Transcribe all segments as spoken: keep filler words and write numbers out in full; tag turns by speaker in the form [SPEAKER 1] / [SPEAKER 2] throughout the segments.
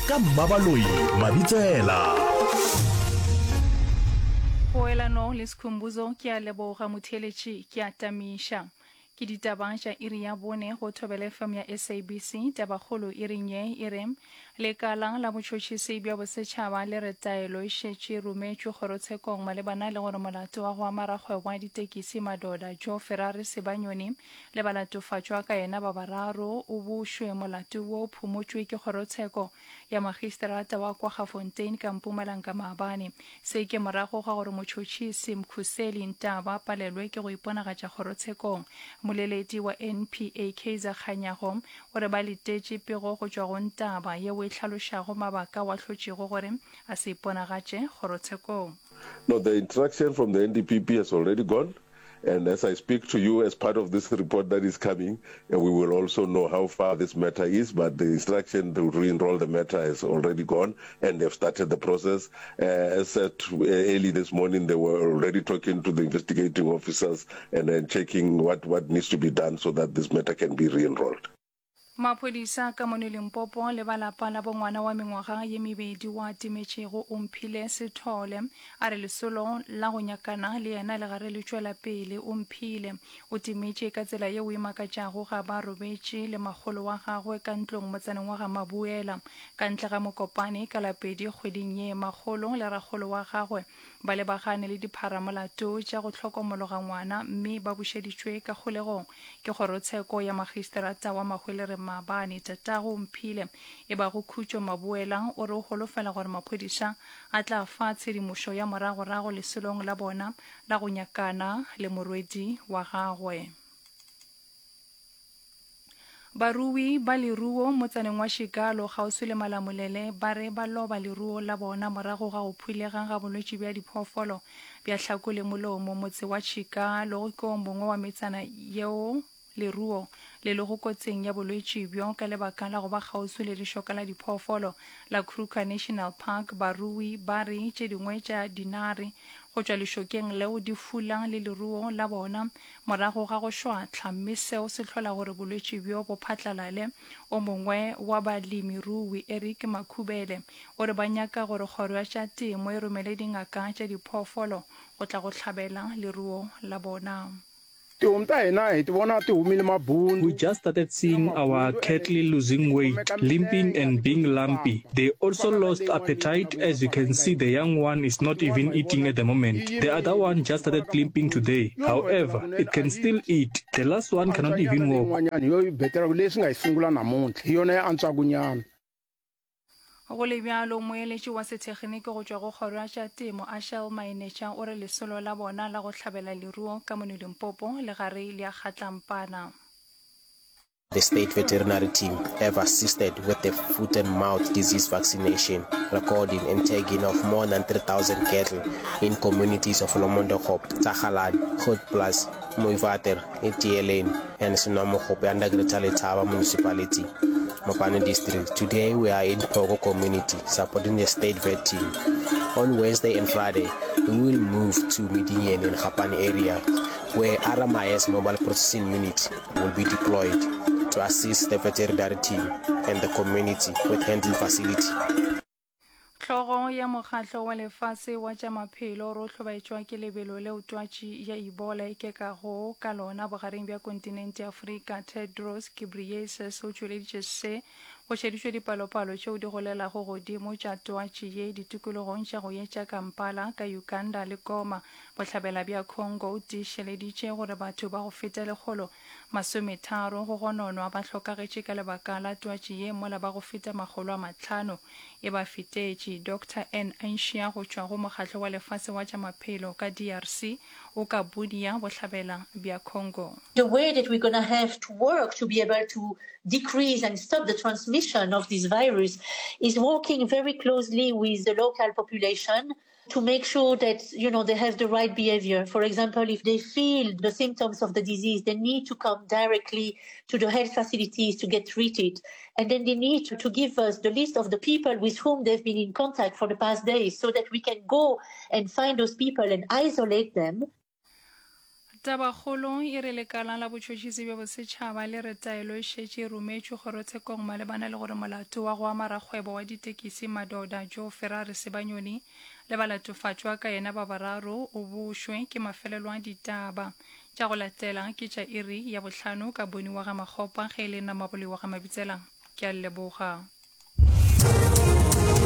[SPEAKER 1] Ka Mmabaloi Mabitsela.
[SPEAKER 2] Poelano le Skhumbuzo ke a leboga motheeletši ke a tamiša. Ke ditaba tša iri ya bone go Thobela F M ya S A B C. Tabakgolo iring ye e re lekala la botšhotšhisi bja bosetšhaba le re taelo e šetše rometšwe kgorotshekong malebana le gore molato wa go ama rakgwebo wa ditekisi Madoda Joe Ferrari Sebanyoni le balatofatšwa ka yena ba bararo o bušwe. Molato wo phumotšwe ke kgorotsheko ya magistrata wa Kwaggafontein ka Mpumalanga maabane. Se ke morago ga gore motšhotšhisi Mkhuseli Ntaba palelwe ke go iponagatša kgorotshekong. Moleledi wa N P A Kaizer Kganyago o re ba letetše pego go tšwa go Ntaba yeo e hlalošago mabaka wa hlotšego gore a se iponagatše kgorotshekong.
[SPEAKER 3] No, the instruction from the N D P P has already gone. And as I speak to you, as part of this report that is coming, uh, we will also know how far this matter is. But the instruction to re-enroll the matter has already gone, and they've started the process. Uh, as said uh, early this morning, they were already talking to the investigating officers and then checking what, what needs to be done so that this matter can be re-enrolled.
[SPEAKER 2] Maphodisa ka mono Limpopo le balapa la bongwana wa mengwaga ye mebedi wa timetšego Omphile Sethole a re lesolo la go nyakana le yena le gare le tšwela pele. Omphile o timetše ka tsela yeo e makatšago ga ba robetše le makgolo wa gagwe ka ntlong motsaneng wa ga Mabuela ka ntle ga Mokopane ka lapedi kgweding ye. Makgolo le rakgolo wa gagwe ba lebagane le dipharamolato tša go hlokomologa ngwana mme ba bušeditšwe ka kgolegong ke kgorotsheko ya magistrata wa Mahwelereng maabane. Tatago Mphile e bago Khutšo Mabuela o re o holofela gore maphodisa a tla fa tshedimošo ya moragorago lesolong la bona la go nyakana le morwedi wa gagwe. Barui ba leruo motsaneng wa Shikalo kgauswi le Malamulele ba re ba loba leruo la bona morago ga go phulega ga bolwetši bja diphoofolo bja hlako le molomo. Motse wa Chikalo ke o mongwe wa metsana yeo leruo le lego kotsing ya bolwetši bjo ka lebaka la go ba kgauswi le lešoka la diphoofolo la Kruger National Park. Barui ba re tše dingwe tša dinare go tšwa lešokeng leo di fula le leruo la bona morago ga go šwahla mme seo se hlola gore bolwetši bjo bo phatlalale. O mongwe wa balemirui Eric Makhubele o re ba nyaka gore kgoro ya tša temo e romele dingaka tša diphoofolo go tla go hlabela leruo la bona.
[SPEAKER 4] Tihomu ta hina hi ti vona ti humile mabundu.
[SPEAKER 5] We just started seeing our cattle losing weight, limping and being lumpy. They also lost appetite. As you can see, the young one is not even eating at the moment. The other one just started limping today. However, it can still eat. The last one cannot even walk.
[SPEAKER 4] Yin'wanyana hi yo yi beteraka leswi nga hi sungula namuntlha hi yona ya antswaka nyana.
[SPEAKER 2] Go le bjalo moeletši wa sethekgniki go tšwa go kgoro ya tša temo Ashel Mainetša o re lesolo la bona la go hlabela leruo ka mono Limpopo le gare le a kgatlampana.
[SPEAKER 6] The state veterinary team have assisted with the foot and mouth disease vaccination, recording and tagging of more than three thousand cattle in communities of Lomondokop, Tsagaladi, Grootplaas, Mooiwater, Etieleng and Senwamogope under Greater Letaba Municipality, Mopani District. Today we are in Pogo community supporting the state vet team. On Wednesday and Friday, we will move to Medinian and Kgapane area where R M I S mobile processing unit will be deployed to assist the veterinary team and the community with handling facility.
[SPEAKER 2] Hlogo ya mokgatlo wa lefase wa tša maphelo re o hlobaetšwa ke lebelo leo twatši ya Ebola e kekago ka lona bogareng bja kontinente ya Afrika. Tedros Ghebreyesus o tšweleditše se go šeditšwe dipalopalo tšeo di golelago godimo tša twatši ye ditikologong tša go etša Kampala ka Uganda le Goma bohlabela bja Congo. O tiišeleditše gore batho ba go feta lekgolo masometharo go gononwa ba hlokagetše ka lebaka la twatši ye mola ba go feta makgolo a mahlano e ba fetetše. Doctor N Anshia go tšwa go mokgatlo wa lefase wa tša maphelo ka D R C o ka Bunia bohlabela bja Congo.
[SPEAKER 7] The way that we're going to have to work to be able to decrease and stop the transmission of this virus is working very closely with the local population to make sure that you know they have the right behavior. For example, if they feel the symptoms of the disease, they need to come directly to the health facilities to get treated. And then they need to, to give us the list of the people with whom they've been in contact for the past days so that we can go and find those people and isolate them.
[SPEAKER 2] Tabakgolo e re lekala la botšhotšhisi bja bosetšhaba le re taelo e šetše e rometšwe kgorotshekong malebana le gore molato wa go ama rakgwebo wa ditekisi Madoda Joe Ferrari Sibanyoni le balatofatšwa ka yena ba bararo o bošwe ke mafelelo a ditaba. Tša go latela ke tša iri ya bohlano ka Boni wa ga Makgopa ge e le nna Mabole wa ga Mabitsela. Ke a le leboga.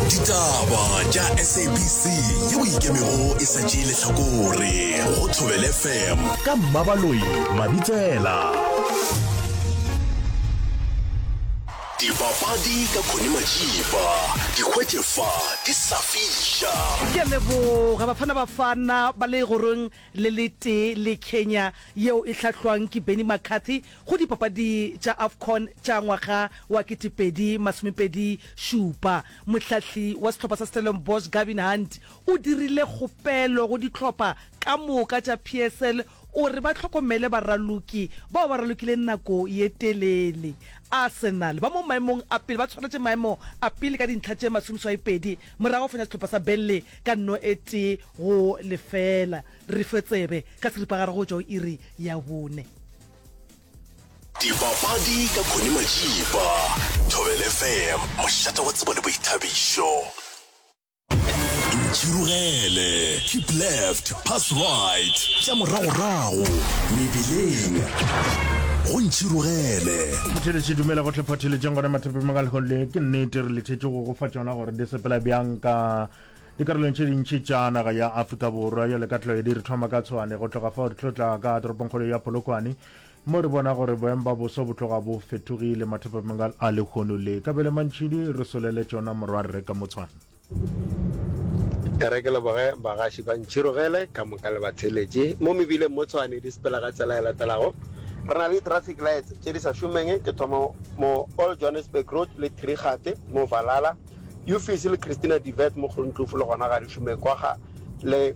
[SPEAKER 1] Ditaba tša S A B C yeo ikemego e sa tšee lehlakore go Thobela F M ka Mmabaloi Mabitsela. Dipapadi ka Connie Majiba, di hwetše fa di sa fiša.
[SPEAKER 8] Ke a leboga Bafana Bafana ba le legorong le letee le Kenya yeo e hlahlwang ke Benni McCarthy go dipapadi tša AFCON tša ngwaga wa ketepedi masomepedi šupa. Mohlahli wa sehlopha sa Stellenbosch Gavin Hunt o dirile kgopelo go dihlopha ka moka tša P S L o re ba hlokomele baraloki bao ba ralokileng nako ye telele. Arsenal ba mo maemong a pele ba tshwaretše maemo a pele ka dintlha tše masomeswaipedi morago go fenya sehlopha sa Burnley ka nno e tee go lefela. Re fe tsebe ka seripagare go tšwa go iri ya bone.
[SPEAKER 1] Dipapadi ka Connie Majiba, Thobela F M, mošate wa tsebo le boithabišo. Ntšhirogele, keep left, pass right, tša moragorago, mebileng, go Ntšhirogele.
[SPEAKER 9] Motheletši dumela gohle photheletšeng gona mathapeng ga lehono le ke nnete re lethetše go go fa tšona gore di sepela bjang ka dikarolong tše dintši tša naga ya Afrika Borwa jale ka tlwaedi re thoma ka Tshwane go tloga fao re tlo tla ka toropongkgolo ya Polokwane mo re bona gore boemo ba boso bo tloga bo fetogile mathapeng a lehono le kabele mantšhidi re solele tšona morwarre ka mo Tshwane.
[SPEAKER 10] E re ke leboge bagaši ba Ntšhirogele ka moka le batheeletši. Mo mebileng mo Tshwane di sepela ka tsela e latelago. Re na le di-traffic lights tše di sa šomeng, ke thoma mo Old Johannesburg Road le Trigate mo Valhalla, Uffice le Christina de Wet mo Groenkloof le gona ga di šome, Kwagga le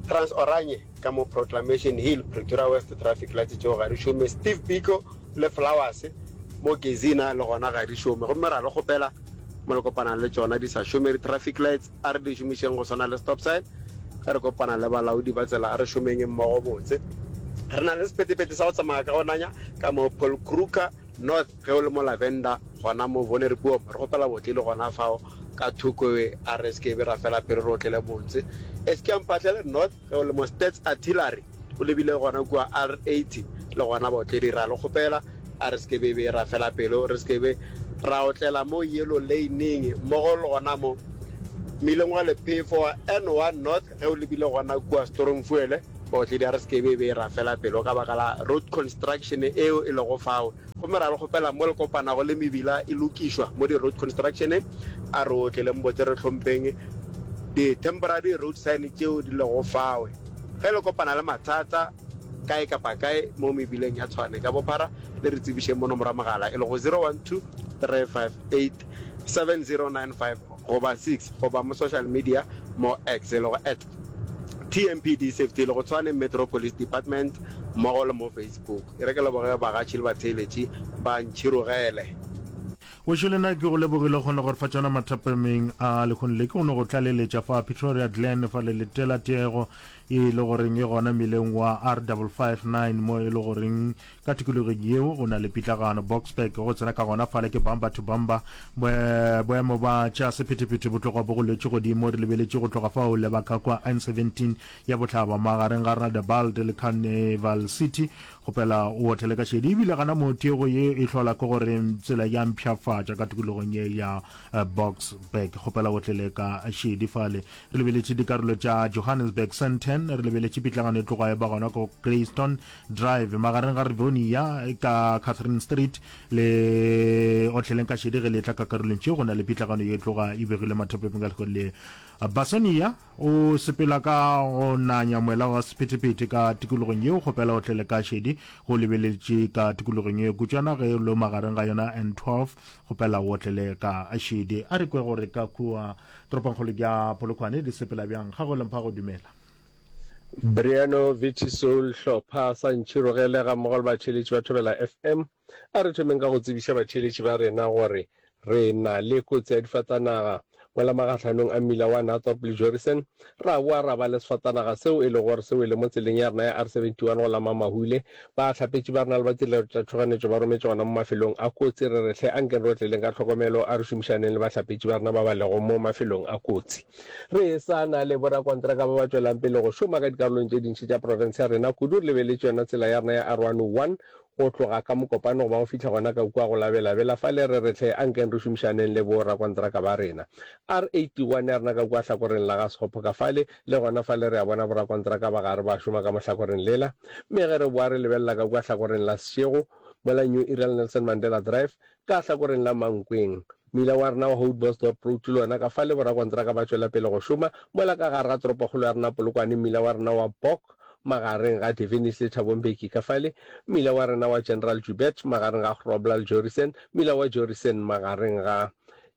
[SPEAKER 10] Trans Oranje ka mo Proclamation Hill, Pretoria West traffic lights tšeo ga di šome, Steve Biko le Flowers mo Gezina le gona ga di šome. Gomme ra le kgopela mo le kopanang le tšona di sa šome di-traffic lights a re di šomišeng go swana le stop sign. Ge re kopana le balaodi ba tsela a re šomeng mmogo botse. Re na le sephethephethe sa go tsamaya ka go nanya ka mo Paul Kruger North ge o le mo Lavender gona mo Vonderboom. Re kgopela botle le gona fao ka thoko a re se ke be ra fela pelo re otlele botse. Eskia Mphahlele North ge o le mo Stats Artillery o lebile gona kua R eighty le gona baotledi ra le kgopela a re se ke be be ra fela pelo re se ke be ra otlela mo Yellow Lane-eng mmogo le gona mo mmileng wa lephefo wa N one North ge o lebile gona kua Stormvoël baotledi a re se ke be be ra fela pelo ka baka la road construction eo e lego fao. Gomme ra le kgopela mo le kopanago le mebila e lokišwa mo di road construction a re otleleng botse re hlompheng di temporary road sign tšeo di lego fao. Ge le kopana le mathata kae kapa kae mo mebileng ya Tshwane ka bophara le re tsebišeng mo nomoro ya mogala e lego zero one two three five eight seven zero nine five goba six goba mo social media mo X e lego at T M P D Safety e lego Tshwane Metro Police Department mmogo le mo Facebook. E re ke leboge bagatši le batheeletši ba Ntšhirogele.
[SPEAKER 9] Wešo le nna ke go lebogile o kgone go re fa tšona mathapameng a lehono le. Ke go no go tlaleletša fa Pretoria Glen fa le letela tiego e le goreng e gona mmileng wa R double five nine mo e le goreng ka tikologong yeo go na le pitlagano. Boksburg go tsena ka gona fale ke bumper to bumper. Boemo ba tša sephethephethe bo tloga bo goletše godimo re lebeletše go tloga fao leba ka kwa N seventeen ya bohlaba magareng ga Radebald le Carnival City. Kgopela o otlele ka šedi ebile gana mo tiego ye e hlola ke gore tsela ya mpshafatša ka tikologong ye ya Boksburg. Kgopela o otlele ka šedi fale. Re lebeletše dikarolo tša Johannesburg Sandton, re lebeletše pitlagano e tloga e ba gona ko Greystone Drive magareng ga Rivonia ka Catherine Street le otleleng ka šedi ge le tla ka karolong tšeo go na le pitlagano ye tloga e begile mathapeng ka lehono le Basonia o sepela ka go nanya moela wa sephethephethe ka tikologong yeo kgopela o tlele ka šedi go lebeletše ka tikologong ye kutšwana ge lo magareng ga yona N twelve kgopela o tlele ka šedi. A re kwe gore ka kua toropongkgolo ya Polokwane di sepela bjang. Ga go lempha go dumela.
[SPEAKER 11] Briano Viti Soul Hlopha sa Ntšhirogele gammogo le batheeletši ba Thobela F M. A re thomeng ka go tsebiša batheeletši ba rena gore re na le kotsi ya difatanaga Mola magahlanong a mmila wa Nathorp le Jorissen, ra boa ra ba le sefatanaga seo e lego gore se wele mo tseleng ya rena ya R seventy one go la Mamahule. Bahlapetši ba rena le ba tirelo tša tšhoganetšo ba rometše gona mo mafelong a kotsi. Re re hle ankeng re otleleng ka tlhokomelo, a re šomišaneng le bahlapetši ba rena ba ba lego mo mafelong a kotsi. Re sa na le borakontraka ba ba tšwelang pele go šoma ka dikarolong tše dintši tša profense ya rena, kudu re lebeletše yona tsela ya rena ya R one oh one go tloga ka Mokopane go ba go fihla gona ka kua go la Bela-Bela fale re re hle ankeng re šomišaneng le bo rakontraka ba rena. R eighty one ya rena ka kua hlakoreng la ga Sekgopho ka fale, le gona fale re a bona borakontraka ba gare ba šoma ka mo hlakoreng lela. Mme ge re boa re lebelela ka kua hlakoreng la Seshego, mola New Era le Nelson Mandela Drive, ka hlakoreng la Mankweng, mmila wa rena wa Houtbosdorp Road le wona ka fale borakontraka ba tšwela pele go šoma, mola ka gare ga toropokgolo ya rena Polokwane mmila wa rena wa Bok magareng ga Devenish le Thabo Mbeki ka fale, mmila wa rena wa General Joubert magareng ga Grobler le Jorissen, mmila wa Jorissen magareng ga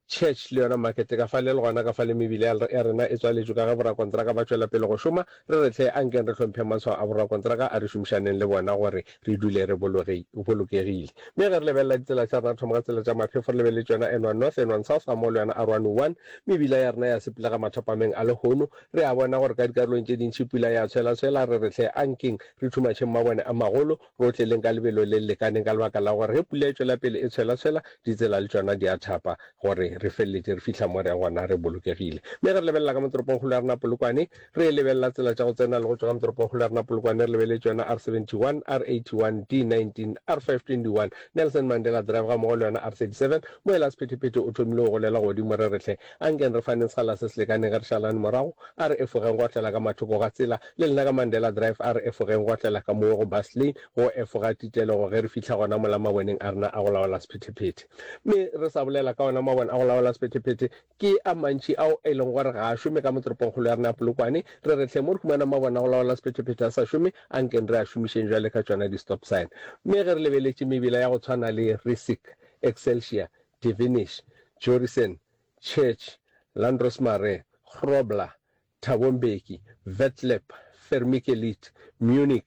[SPEAKER 11] Church le yona Market ka fale, le gona ka fale mebila ya rena e tswaletšwe ka ge borakontraka ba tšwela pele go šoma. Re re hle ankeng re hlompheng matshwao a borakontraka, a re šomišaneng le bona gore re dule re bolokegile. Mme ge re lebelela ditsela tša rena, re thoma ka tsela tša maphefo, re lebeletše yona N one North, N one South gammogo le yona R one oh one, mebila ya rena ya sepelega mathapameng a lehono. Re a bona gore ka dikarolong tše dintši pula ya tshwelatshwela. Re re hle ankeng re thumatšheng mabone a magolo, re otleleng ka lebelo le le lekaneng ka lebaka la gore ge pula e tšwela pele e tshwelatshwela, ditsela le tšona di a thapa gore re feleletše re fihla mo re yang gona re bolokegile. Mme ge re lebelela ka mo toropongkgolo ya rena Polokwane, re lebelela tsela tša go tsena le go tšwa ka mo toropongkgolo ya rena Polokwane, re lebeletše yona R seventy one, R eighty one, D nineteen, R five twenty one, Nelson Mandela Drive gammogo le yona R thirty seven. Moela sephethephethe o thomile go golela godimo. Re re hle ankeng re faneng sekgala se se lekaneng ge re šalane morago. A re efogeng go otlela ka mathoko ga tsela. Le lena ka Mandela Drive a re efogeng go otlela ka moo go bus lane, go efoga titelego ge re fihla gona mola maboneng a rena a go laola sephethephethe. Mme re sa bolela ka ona mabone a go laola sephethephethe, ke a mantši ao e leng gore ga a šome ka mo toropongkgolo ya rena ya Polokwane. Re re hle mo re humanang mabone a go laola sephethephethe a sa šome, ankeng re a šomišeng bjale ka tšona di-stop sign. Mme ge re lebeletše mebila ya go tshwana le Rissik, Excelsior, Devenish, Jorissen, Church, Landros Marais, Grobler, Thabo Mbeki, Vetlep, Vermikelid, Munich,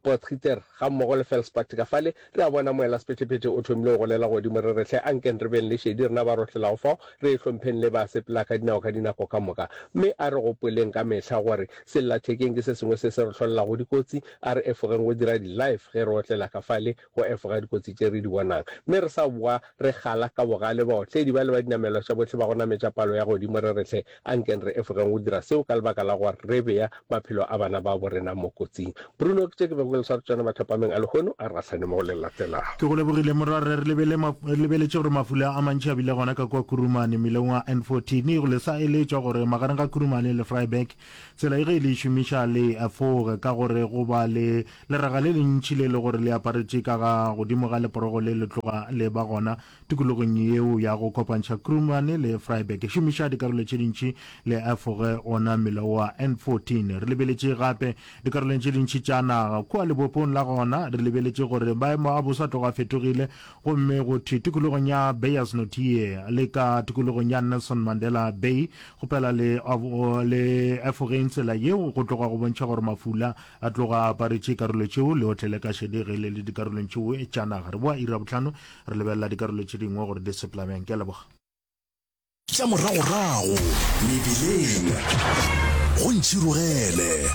[SPEAKER 11] Potgieter gammogo le Felspad ka fale, re a bona moelasephethephethe o thomile go golela godimo. Re re hle ankeng re beng le šedi rena ba rohlelago fao, re e hlompheng le ba sepela ka dinao ka dinako ka moka. Mme a re gopoleng ka mehla gore sellathekeng ke se sengwe se se re hlolelago dikotsi. A re efogeng go dira di-live ge re otlela ka fale go efoga dikotsi tše re di bonang. Mme re sa boa re gala ka bogale baotledi bale ba dinamelwa tša bohle ba go nametša palo ya godimo re re hle ankeng re efogeng go dira seo ka lebaka la gore re bea maphelo a bana babo rena mo kotsing. Bruno, ke tše ke bego ke le sware tšona mathapameng a lehono, a re gahlane mo go le latelago.
[SPEAKER 9] Ke go lebogile morwarre. Re lebele re lebeletše gore mafula a mantši a bile gona ka kua Kurumane mmileng wa N fourteen. Go le sa eletšwa gore magareng ga Kurumane le Vryburg tsela ye ge le e šomiša le efoge ka gore go ba le leraga le lentši le le gore le aparetše ka ga godimo ga leporogo le le tloga le ba gona tikologong yeo ya go kopantšha Krumane le Vryburg. Šomiša dikarolo tše dintši le efoge ona mmila wa N fourteen. Re lebeletše gape dikarolong tše dintši tša naga. Kua lebopong la gona re lebeletše gore maemo a boso a tloga a fetogile gomme go thwe tikologong ya Beyers Naudé le ka tikologong ya Nelson Mandela Bay kgopela le le efogeng tsela yeo go tloga go bontšha gore mafula a tloga a aparetše karolo tšeo le otlele ka šedi ge le le dikarolong tšeo tša naga. Re boa iri ya bohlano re lebelela dikarolo tše dingwe gore di sepela bjang. Ke a leboga.
[SPEAKER 1] Tša moragorago mebileng go ntšhirogele.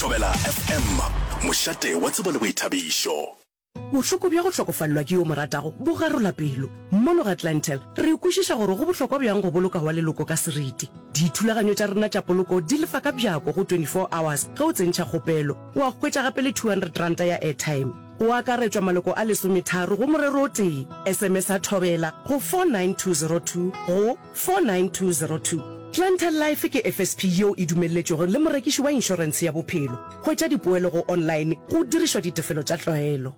[SPEAKER 1] Thobela F M, mošate wa tsebo le boithabišo.
[SPEAKER 12] Bohloko bja go hlokofalelwa ke yo o mo ratago bo garola pelo. Mono ga Clientele, re kwešiša gore go bohlokwa bjang go boloka wa leloko ka seriti. Dithulaganyo tša rena tša poloko di lefa ka bjako go twenty four hours ge o tsentšha kgopelo. Wa hwetša gape le two hundred ranta ya airtime. Go akaretšwa maloko a lesometharo go morero o tee. S M S-a Thobela go four nine two zero two go four nine two zero two. Clientele Life ke F S P yeo e dumelletšwego le morekiši wa inšorentshe ya bophelo. Hwetša dipoelo go online go dirišwa ditefelo tša tlwaelo.